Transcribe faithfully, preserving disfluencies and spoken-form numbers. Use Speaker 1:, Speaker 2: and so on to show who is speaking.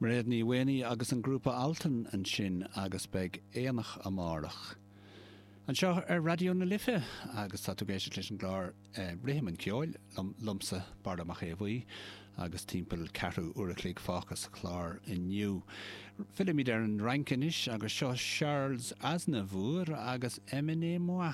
Speaker 1: Mairéad Ní Mhaonaigh agus an grúpa Altan ansin agus beidh aonach amárach. Anseo ar Raidió na Life agus tá tú ag éisteacht leis an gclár eh, Rithim an Cheoil liomsa Barra Mac Aodha Bhuí agus timpeall ceathrú uair a chloig fágtha sa chlár inniu. Fillimid ar an Fhrainc anois agus seo Charles Aznavour agus Emmenez-moi.